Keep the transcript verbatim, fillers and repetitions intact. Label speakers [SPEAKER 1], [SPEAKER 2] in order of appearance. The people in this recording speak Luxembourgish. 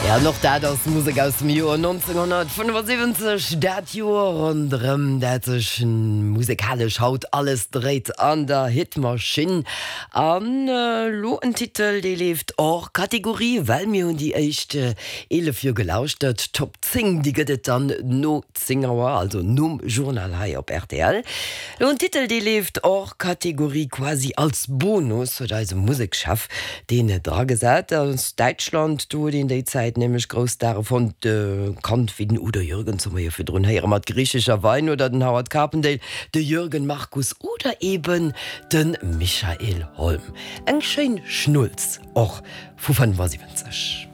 [SPEAKER 1] Ja, och dat ass Musek aus dem Joer nonzénghonnertfënnefasiwwenzeg, dat Joer ronderëm dat sech musekalesch haut alles dréit an der Hitmaschinn. An elo en Titel, dee leeft hors Kategorie, well mir hunn déi éischt eelef jo gelauschtert. D'Top zéng, déi gëtt et dann no zéng Auer, also nom Journal hei op rtl. Elo en Titel, dee leeft hors Kategorie, quasi als Bonus, huet eise Musekschef deen dragesat. Aus Däitschland, do huet een déi Zäit nämlech grouss Stare fonnt, kannt wéi den Udo Jürgens, hu mer jo virdrun héiere mat Griechischer Wein, oder den Howard Carpendale, de Jürgen Markus oder eben de Michael Holm. Eng schéin Schnulz och vu fënnefasiwwenzeg.